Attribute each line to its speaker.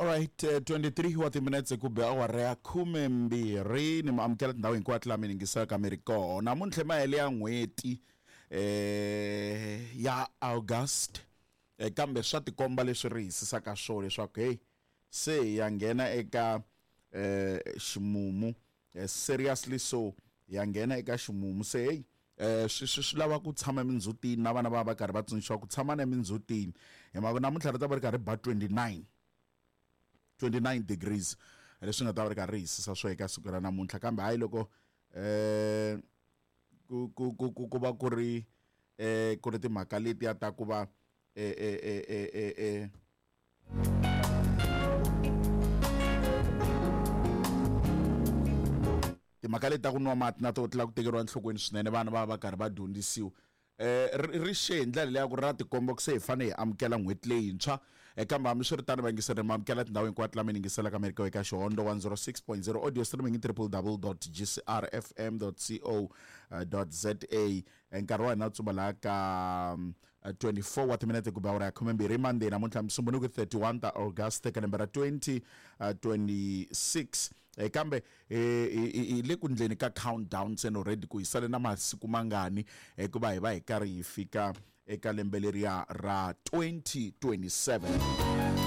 Speaker 1: Alright, 23 wa timinetse ku be awara ya 12 ni mi amukela tindhawu hinkwato laha mi yingisaka mi ri kona. Namuntlha mahele ya n'hweti ya August, kambe swa tikomba leswi ri hisisaka swona leswaku hey se hi ya nghena eka ximumu, seriously so hi ya nghena eka ximumu se hey swi swi swi lava ku tshama emindzhutini na vana va va karhi va tsundzuxiwa ku tshama na emindzhutini hi mhaka namuntlha ri ta va ri karhi ba 29 degrees leswi nga ta va ri karhi ri hisisa swo eka siku ra namuntlha, kambe hayi loko ku ku ku ku ku va ku ri ku ri timhaka letiya ta ku va timhaka leti ta ku nwa mati na to tila ku tekeriwa enhlokweni swinene, vana va va karhi va dyondzisiwa. Ri xe hi ndlela leya ku ri ra tikomba ku se hi fanele hi amukela n'hweti leyintshwa. Kambe hambiswiritano vayingiseri mi amukela tindhawu hinkwato laha mi yingiselaka mi ri kona eka Xihondo 106.0 audio streaming triple dot g c r f m dot c o dot z a. Nkarhi wa hina wu tsumba laha ka 24 wa timinete ku ba awara ya 12 Monday namuntlha Musumbhunuku 31 ta August ka lembe ra 2026. Kambe hi le ku ndleni ka countdown se already ku hi sale na masiku mangani hikuva hi va hi karhi hi fika eka lembe leriya ra 2027.